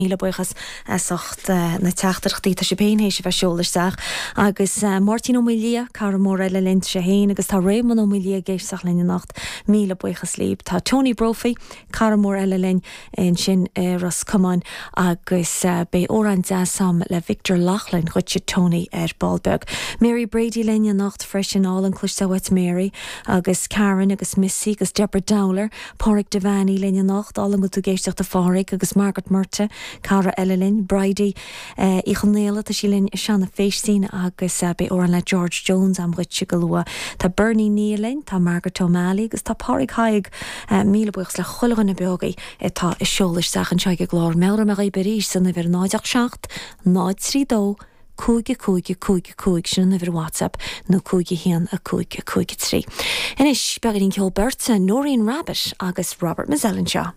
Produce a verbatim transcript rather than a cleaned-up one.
Míle buíochas as ucht na teachtaireachtaí tá sibh féin théis a bheith ag seoladh isteach agus Máirtín Ó Maoildhia cara mór eile linn sé féin agus tá Réamonn Ó Maoildhia ag éisteacht linn anocht míle buíochas libh. Tá Tony Brophy cara mór eile linn ansin i Ros Comáin agus beidh amhrán deas agam le Victor Loughlin dhuitse Tony ar ball beag. Mary Brady linn anocht freisin álainn cloisteáil uait Mary agus Karen agus Missy agus Deborah Dowler, Pádraig Devaney linn anocht álainn go bhfuil tú ag éisteacht a Phádraig agus Margaret Murta cara eile linn Bridie Uí Chonaola tá sí linn Seanna Féistín agus beidh amhrán le George Jones agam dhuitse go luath. Tá Bernie Nia linn, tá Margaret O'Malley agus tá Pádraig Haigh míle buíochas le chuile dhuine beogaí atá ag seoladh isteach anseo ag an gclár Meabhróidh mé dhaoibh arís san uimhir náid seacht náid trí dó cúig cúig cúig cúig sin an uimhir WhatsApp nó cúig haon a cúig cúig trí. Anois beagáinín ceol beirte Noreen Rabbitt agus Robert Mizzell anseo.